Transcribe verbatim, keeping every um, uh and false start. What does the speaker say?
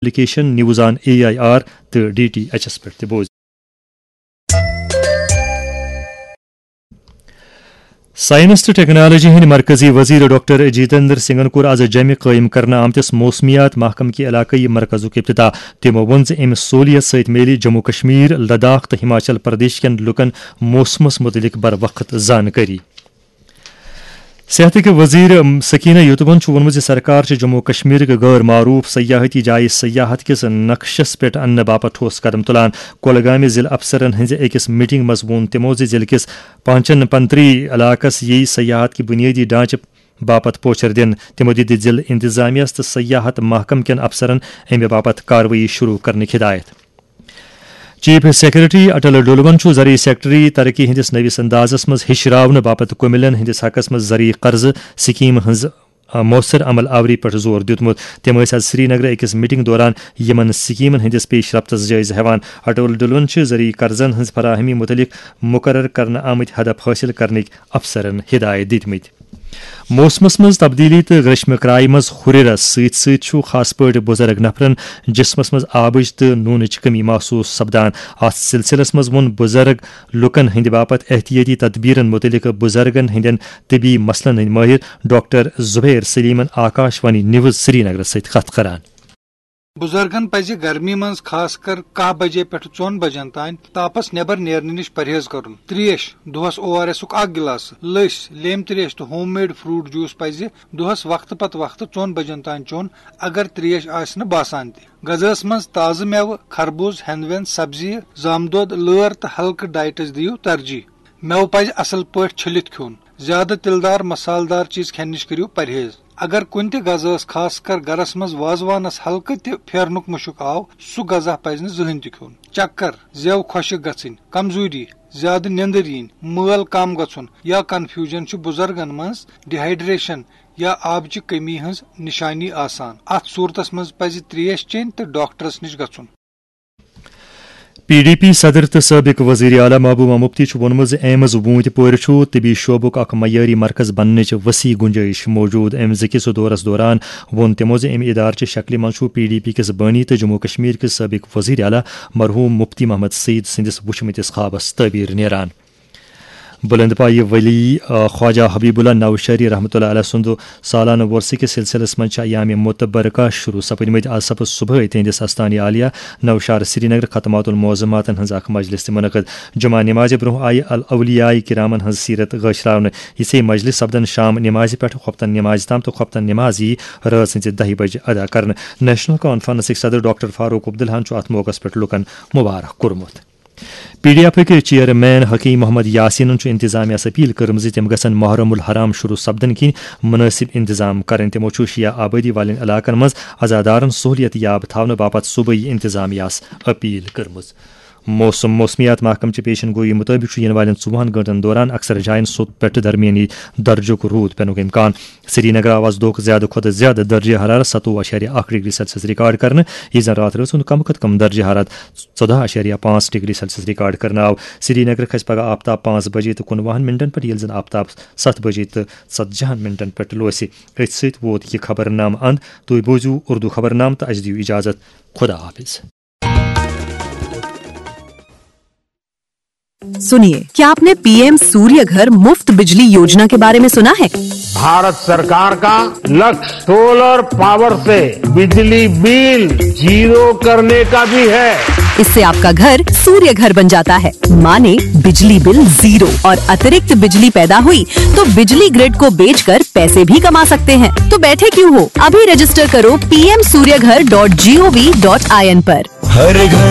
Application news on A I R تہٕ D T H S پٮ۪ٹھ تہِ بوزِو۔ Science تہٕ ٹیکنالوجی ہٕنٛدۍ مرکزی وزیر ڈاکٹر جتیندر سنگھن کوٚر از جمہِ قٲیِم کرنہٕ آمتِس موسمیات محکمہٕ کہِ علاقٲیی مرکزُک افتتاح۔ تِمو ووٚن زِ اَمہِ سہوٗلیت سۭتۍ میلہِ جموں کشمیر، لداخ تہٕ ہماچل پردیش کٮ۪ن لوٗکَن موسمَس مُتعلِق بروقت زانکٲری۔ صحتٕکۍ وزیر سکینہ یوتوَن چھُ ووٚنمُت زِ سرکار چھِ جموں کشمیرٕکۍ غٲر معروف سیاحتی جایہِ سیاحت کِس نقشس پٮ۪ٹھ اننہٕ باپتھ ٹھوس قدم تُلان۔ کۄلگامہِ ضلعہٕ افسرن ہٕنٛزِ أکِس میٹنگ منٛز ووٚن تِمو زِ ضلعہٕ کِس پانچن پنتری علاقس یِیہِ سیاحت کہِ بُنیٲدی ڈھانچہٕ باپتھ پوچھر دِنہٕ۔ تِمو دِتۍ ضلعہٕ انتظامیہس تہٕ سیاحت محکمہٕ کٮ۪ن افسرن اَمہِ باپتھ کاروٲیی شروع کرنٕچ ہدایت۔ چیف سیکرٹری اٹل ڈولون چھُ زرعی سیکٹری ترقی ہٕنٛدِس نٔوِس اندازس منٛز ہِشراونہٕ باپتھ کُمِلین ہٕنٛدِس حقس منٛز زرعی قرضہٕ سکیمہٕ ہٕنٛز، آ، مؤثر عمل آوری پٮ۪ٹھ زور دیُتمُت۔ تِم ٲسۍ از سرینگرٕ أکِس میٹنگ دوران یِمن سکیمن ہٕنٛدِس پیش رفتس جٲیزٕ ہٮ۪وان۔ اٹل ڈولون چھِ زرعی قرضن ہٕنٛز فراہمی مُتعلق مُقرر کرنہٕ آمٕتۍ ہدف حٲصِل کرنٕکۍ افسرن ہدایت دِتمٕتۍ۔ موسمس منٛز تبدیلی تہٕ گریشمہٕ کرایہِ منٛز ہُرٮ۪رس سۭتۍ سۭتۍ چھُ خاص پٲٹھۍ بُزرگ نفرن جسمس منٛز آبٕچ تہٕ نوٗنٕچ کمی محسوس سپدان۔ اتھ سلسلس منٛز ووٚن بُزرگ لوٗکن ہٕنٛدِ باپتھ احتیاطی تدبیرن مُتعلق بُزرگن ہٕنٛدٮ۪ن طبی مسلن ہٕنٛدۍ مٲہِر ڈاکٹر زبیر سلیمن آکاش وانی نیوز سرینگرس سۭتۍ کتھ کران۔ بُزرگن پزِ گرمی منٛز خاص کر کاہ بجے پٮ۪ٹھ ژۄن بجن تام تاپس نٮ۪بر نیرنہٕ نِش پرہیز کرُن۔ تریش، دۄہس او آر ایسُک اکھ گلاس، لٔسۍ، لیمہِ تریش تہٕ ہوم میڈ فروٹ جوس پزِ دۄہس وقتہٕ پتہٕ وقتہٕ ژۄن بجن تام چیوٚن، اگر تریش آسہِ نہٕ باسان تہِ۔ غذاہس منٛز تازٕ مٮ۪وٕ، خربوز، ہٮ۪نٛد وٮ۪نٛد، سبزیہِ، زامہٕ دۄد، لٲر تہٕ ہلکہٕ ڈائٹس دِیِو ترجیح۔ مٮ۪وٕ پزِ اصل پٲٹھۍ چھٔلِتھ کھیوٚن۔ زیادٕ تِلہٕ دار، مسالہٕ دار چیز کھٮ۪نہٕ نِش کٔرِو پرہیز۔ اگر کُنہِ تہِ غذاہس، خاص کر گرس منٛز وازوانس، ہلکہٕ تہِ پھیرنُک مُشُک آو، سُہ غذا پزِ نہٕ زٕہٕنۍ تہِ کھیوٚن۔ چکر، زٮ۪و خۄشٕک گژھٕنۍ، کمزوری، زیادٕ نیندٕر یِنۍ، مٲل کم گژھُن یا کنفیوجن چھُ بُزرگن منٛز ڈیہائیڈریشن یا آبٕچہِ کمی ہٕنٛز نشانی آسان۔ اتھ صورتس منٛز پزِ تریش چیٚنۍ تہٕ ڈاکٹرس نِش گژھُن۔ پی ڈی پی صدر تہٕ سٲبِق وزیر اعلیٰ محبوبہ مفتی چھُ ووٚنمُت زِ ایمز ووٗنٛتۍ پورِ چھُ طبی شعبُک اکھ معیٲری مرکز بننٕچ وسیع گنجٲیش موجود۔ ایمزٕ کِس دورس دوران ووٚن تِمو زِ امہِ ادارٕ چہِ شکلہِ منٛز چھُ پی ڈی پی کِس بٲنی تہٕ جموں کشمیر کِس سٲبِق وزیر اعلیٰ مرحوم مفتی محمد سعید سٕنٛدِس وُچھمٕتِس خوابس تعبیر نیران۔ بلند پایہِ ولی، آ، خواجہ حبیب اللہ نوشہری رحمۃ اللہ علیہ سُنٛد سالانہٕ وۄرثہٕ کِس سلسلس منٛز چھِ ایام متبرکہ شروع سپدمٕتۍ۔ از سپُد صبحٲے تِہنٛدِس استانِ عالیہ نوشہر سرینگر ختمات المعظماتن ہٕنٛز اکھ مجلس تہِ منعقد۔ جمعہ نمازِ برونٛہہ آیہِ الاولیاء کرامن ہٕنٛز سیرت گٲشراونہٕ۔ یِژھے مجلس سپدن شام نمازِ پٮ۪ٹھ خۄفتن نمازِ تام تہٕ خۄفتن نماز یی رٲژ ہٕنٛزِ دَہہِ بجہِ ادا کرنہٕ۔ نیشنل کانفرنسٕکۍ صدر ڈاکٹر فاروق عبداللہن چھُ اتھ موقعس پٮ۪ٹھ لوٗکن مبارک کوٚرمُت۔ P D ایفٕکۍ chairman Hakim Muhammad یاسینن چھُ انتظامیہ سۭتۍ اپیل کٔرمٕژ زِ تِم گژھن محرم الحرام شروع سپدنہٕ کِنۍ مناسب انتظام کرٕنۍ۔ تِمو چھُ شیعہ آبادی والٮ۪ن علاقن منٛز عزادارن سہولیت یاب تھاونہٕ باپتھ صوبٲئی انتظامیہس اپیل کٔرمٕژ۔ موسم، موسمیات محکمہٕ چہِ پیشن گوئی مُطٲبِق چھُ یِنہٕ والٮ۪ن ژوٚوُہن گٲنٛٹن دوران اکثر جاین سوٚت پٮ۪ٹھ درمیٲنی درجُک روٗد پٮ۪نُک امکان۔ سرینگرٕ آو از دۄہُک زیادٕ کھۄتہٕ زیادٕ درجہ حرارت ستووُہ اعشاریہ اکھ ڈگری سیلسیس ریکارڈ کرنہٕ، یُس زن راتھ رٲژ ہُنٛد کم کھۄتہٕ کم درجہ حرارت ژۄدہ اعشاریہ پانٛژھ ڈگری سیلسیس ریکارڈ کرنہٕ آو۔ سرینگرٕ کھسہِ پگہہ آفتاب پانٛژھ بجے تہٕ کُنوُہن منٹن پٮ۪ٹھ، ییٚلہِ زن آفتاب ستھ بجے تہٕ ژتجہن منٹن پٮ۪ٹھ لوسہِ۔ أتھۍ سۭتۍ ووت یہِ خبرنامہٕ اند۔ تُہۍ بوزِو اردو خبرنامہٕ تہٕ اسہِ دِیِو اجازت۔ خدا حافظ۔ सुनिए, क्या आपने पीएम सूर्य घर मुफ्त बिजली योजना के बारे में सुना है? भारत सरकार का लक्ष्य सोलर पावर से बिजली बिल जीरो करने का भी है। इससे आपका घर सूर्य घर बन जाता है, माने बिजली बिल जीरो। और अतिरिक्त बिजली पैदा हुई तो बिजली ग्रिड को बेचकर पैसे भी कमा सकते हैं। तो बैठे क्यों हो, अभी रजिस्टर करो P M Surya Ghar dot G O V dot I N पर। हर घर